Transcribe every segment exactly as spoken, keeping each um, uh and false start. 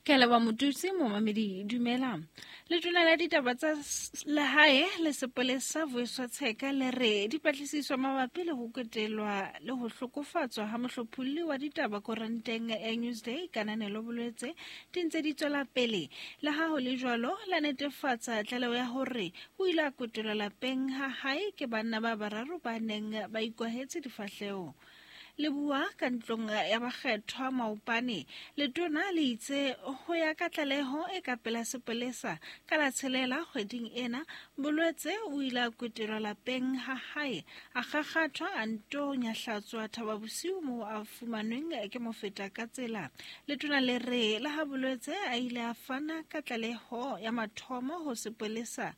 Ke leboha Motutsi momamedi dumela. Letona la ditaba tsa lehae le sepolesa Vuyiswa Tsheka le re dipatlisiso mabapi le ho kwetelwa le ho hlokofatswa ha mohlopholli wa ditaba koranteng ya Newsday Kananelo Bolwetse di ntse di tswela pele. Le ha ho le jwalo, la netefatsa tlaleho ya hore o ile a kwetelwa lapeng ha hae ke banna ba bararo ba neng ba ikwahetse difahleho. Le bua ka ntlong ya bakgethwa maopane, letona le itse ho ya ka tlaleho e ka pela sepolesa ka la tshelela kgweding ena, Bolwetse o ile a kwetelwa lapeng ha hae, a kgakgathwa a nto nyahlatswa Thaba Bosiu moo a fumanweng ke mofeta ka tsela. Letona le re le ha Bolwetse a ile a fana ka tlaleho ya mathomo ho sepolesa,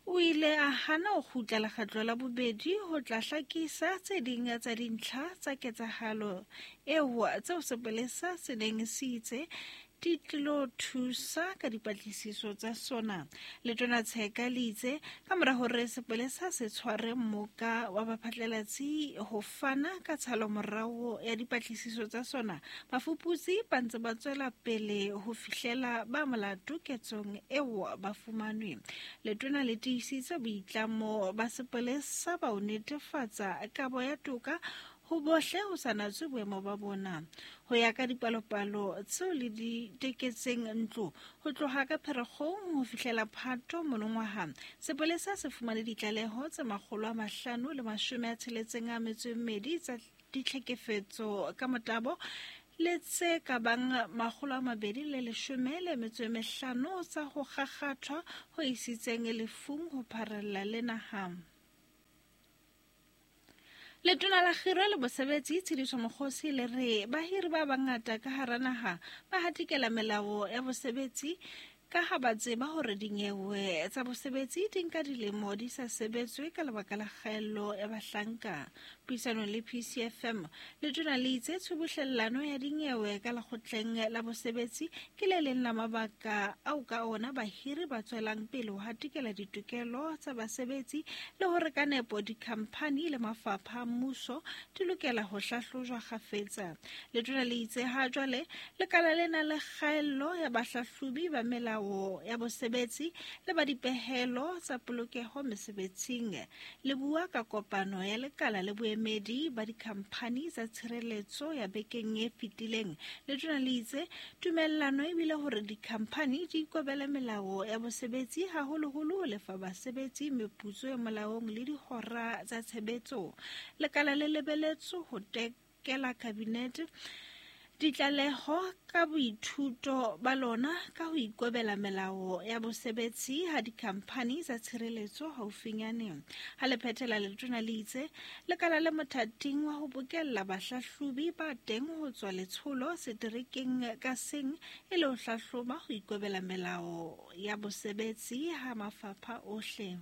o ile a hana ho kgutla lekgetlo la bobedi ho tla hlakisa tse ding tsa dintlha tsa ketsahalo eo tseo sepolesa se neng se itse di tlilo thusa ka dipatlisiso tsa sona. Letona Tsheka le itse ka mora hore sepolesa se tshware mmoka wa baphatlalatsi ho fana ka tshalomorao ya dipatlisiso tsa sona, bafuputsi ba ntse ba tswela pele ho fihlela ba molato ketsong eo ba fumanwe. Letona le tiisitse boitlamo ba sepolesa ba ho netefatsa kabo ya toka ho bohle ho sa natswe boemo ba bona. Ho ya ka dipalopalo tseo le di teketseng ntlo ho tloha ka Pherekgong ho fihlela Phato monongwaha, sepolesa se fumane ditlaleho tse makgolo a mahlano le mashome a tsheletseng a metso e mmedi tsa ditlhekefetso ka motabo le tse ka bang makgolo a mabedi le leshome le metso e mehlano tsa ho kgakgathwa ho isitseng lefung ho pharella le naha. Letona la Kgiro le Bosebetsi Tshediso Mokgosi le re bahiri ba bangata ka hara naha ba hatikela melao ya bosebetsi ka ha ba tseba hore dinyewe tsa bosebetsi di nka dilemo di sa sebetswe ka lebaka la kgaello ya bahlanka. Puisanong le P C F M, letona le itse tshubuhlellano ya dinyewe ka lekgotleng la bosebetsi ke le leng la mabaka ao ka ona bahiri ba tswelang pele ho hatikela ditokelo tsa basebetsi le hore ka nepo dikhamphani le mafapha a mmuso di lokela ho hlahlojwa kgafetsa. Letona le itse ha jwale lekala le na le kgaello ya bahlahlobi ba melao ya bosebetsi le ba dipehelo tsa polokeho mesebetsing. Le bua ka kopano ya lekala le boemedi ba dikhamphani tsa tshireletso ya bekeng e fetileng. Letona le itse tumellano ebile hore dikhamphani di ikobele melao ya bosebetsi haholoholo ho lefa basebetsi meputso e molaong le dihora tsa tshebetso. Lekala le lebeletswe ho tekela kabinete ditlaleho ka boithuto ba lona ka ho ikobela melao ya bosebetsi ha dikhamphani tsa tshireletso haufinyane. Ha le phethela, letona le itse lekala le mothating wa ho bokella bahlahlobi ba teng ho tswa letsholo seterekeng ka seng e le ho hlahloba ho ikobela melao ya bosebetsi ha mafapha ohle.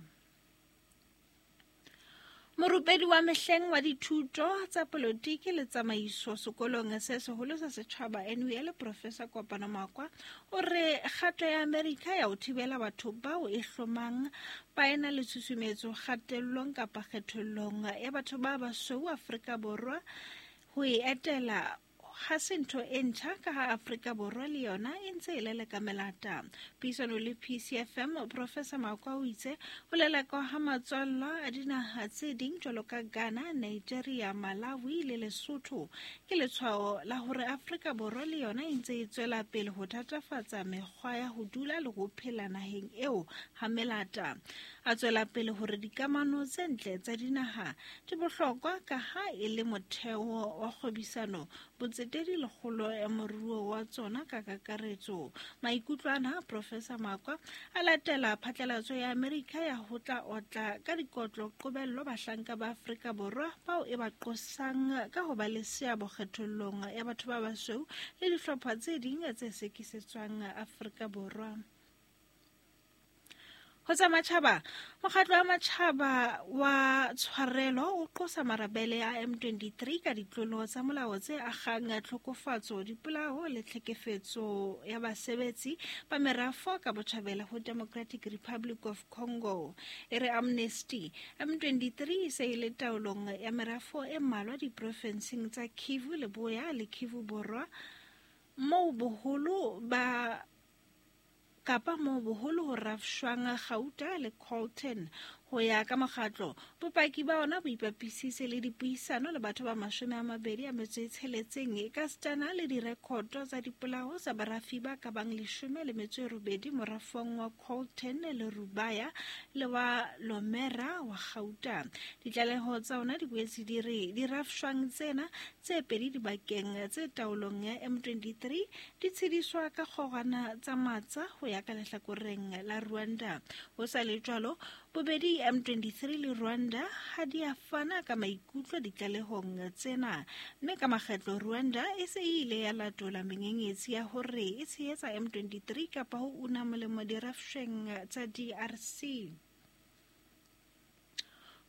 Morupedi wa mehleng wa dithuto tsa polotiki le tsamaiso sekolong se seholo sa setjhaba N U L Professor Kopano Makwa o re kgato ya Amerika ya ho thibela batho bao e hlomang ba ena le tshusumetso kgatellong kapa kgethollong ya batho ba basweu Afrika Borwa ho e etela ha se ntho e ntjha ka ha Afrika Borwa le yona e ntse e leleka melata. Puisano le P C F M, Professor Makwa o itse ho lelekwa ha matswallwa a dinaha tse ding jwalo ka Ghana, Nigeria, Malawi le Lesotho ke letshwao la hore Afrika Borwa le yona e ntse e tswela pele ho thatafatsa mekgwa ya ho dula le ho phela naheng eo ha melata. A tswela pele hore dikamano tse ntle tsa dinaha di bohlokwa ka ha e le motheo wa kgwebisano, botsetedi le kgolo ya moruo wa tsona ka kakaretso. Maikutlo ana Professor Makwa a latela phatlalatso ya Amerika ya ho tla otla ka dikotlo qobello bahlanka ba Afrika Borwa bao e ba qosang ka ho ba le seabo kgethollong ya batho ba basweu le dihlopha tse ding tse sekisetswang Afrika Borwa. Ho tsa matjhaba, mokgatlo wa matjhaba wa tshwarelo o qosa marabele a M twenty-three ka ditlolo tsa molao tse akgang tlhokofatso, dipolao le tlhekefetso ya basebetsi ba merafo ka botjhabela ho Democratic Republic of Congo. E re Amnesty, M twenty-three e se e le taolong ya merafo e mmalwa diprofenseng tsa Kivu Leboya le Kivu Borwa. Moo boholo ba kapa moo boholo ho rafshwang kgauta le coltan. Ho ya ka mokgatlo, bopaki ba ona bo ipapisitse le dipuisano le batho ba mashome a mabedi a metso e tsheletseng ekasitana le direkoto tsa dipolao tsa barafi ba ka bang leshome le metso e robedi morafong wa coltan le Rubaya le wa Lomera wa kgauta. Ditlaleho tsa ona di boetse di re dirafshwang tsena tse pedi dibakeng tse taolong ya M twenty-three di tshediswa ka kgorwana tsa matsa ho ya ka lehlakoreng la Rwanda. Ho sa le jwalo, bobedi M twenty-three le Rwanda ha di a fana ka maikutlo ditlalehong tsena, mme ka makgetlo Rwanda e se e ile ya latola menyenyetsi ya hore e tshehetsa M twenty-three kapa ho una molemo dirafshweng tsa D R C.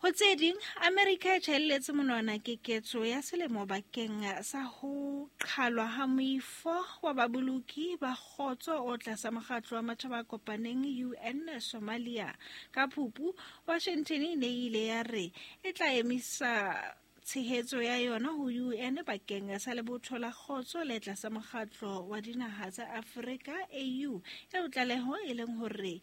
Ho tse ding, Amerika e tjhaelletse monwana keketso ya selemo bakeng sa ho qhalwa ha moifo wa baboloki ba kgotso o tlasa mokgatlo wa Matjhaba a Kopaneng U N Somalia. Ka Phupu, Washington e ne e ile ya re e tla emisa tshehetso ya yona ho U N bakeng sa lebotho la kgotso le tlasa mokgatlo wa dinaha tsa Afrika A U, eo tlaleho e leng hore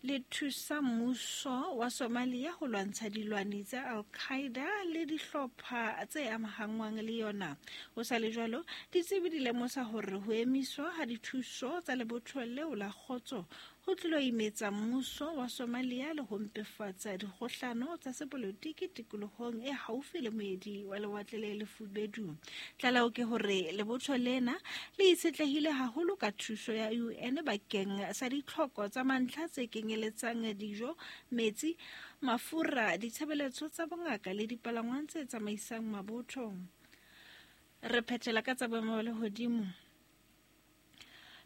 le thusa mmuso wa Somalia ho lwantsha dilwani tsa Al-Qaeda le dihlopha tse amahanngwang le yona. Ho sa le jwalo, ditsebi di lemosa hore ho emiswa ha dithuso tsa lebotho leo la kgotso ho tlilo imetsa mmuso wa Somalia le ho mpefatsa dikgohlano tsa sepolotiki tikolohong e haufi le moedi wa lewatle le lefubedu. Tlaleho ke hore lebotho lena le itshetlehile haholo ka thuso ya U N bakeng sa ditlhoko tsa mantlha tse kenyeletsang dijo, metsi, mafura, ditshebeletso tsa bongaka le dipalangwang tse tsamaisang mabotho. Re phethela ka tsa boemo ba lehodimo.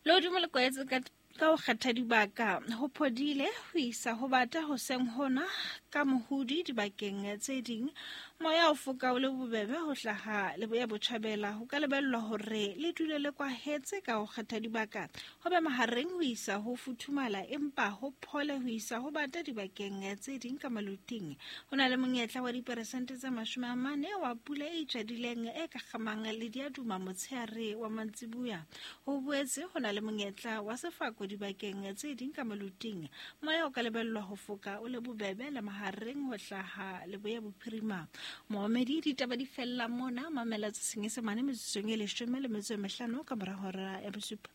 Lehodimo le kwahetse ka ka ho kgetha dibaka ho phodile ho isa ho bata hoseng hona ka mohudi dibakeng tse ding. Moya o foka o le bobebe ho hlaha leboya botjhabela. Ho ka lebellwa hore le dule le kwahetse ka ho kgetha dibaka ho be mahareng ho isa ho futhumala, empa ho phole ho isa ho bata dibakeng tse ding ka maluting. Ho na le monyetla wa diperesente tse mashome a mane wa pula e itjadileng e ka kgamang le diaduma motshehare wa mantsibuya. Ho boetse ho na le monyetla wa sefako dibakeng tse ding ka maluting. Moya o ka lebellwa ho foka o le bobebe le mahareng ho hlaha leboya bophirima. Moomedi ditaba di fella mona, mamela tse Senyesemane metsotsong e leshome le metso e mehlano ka mora hora ya bosupa.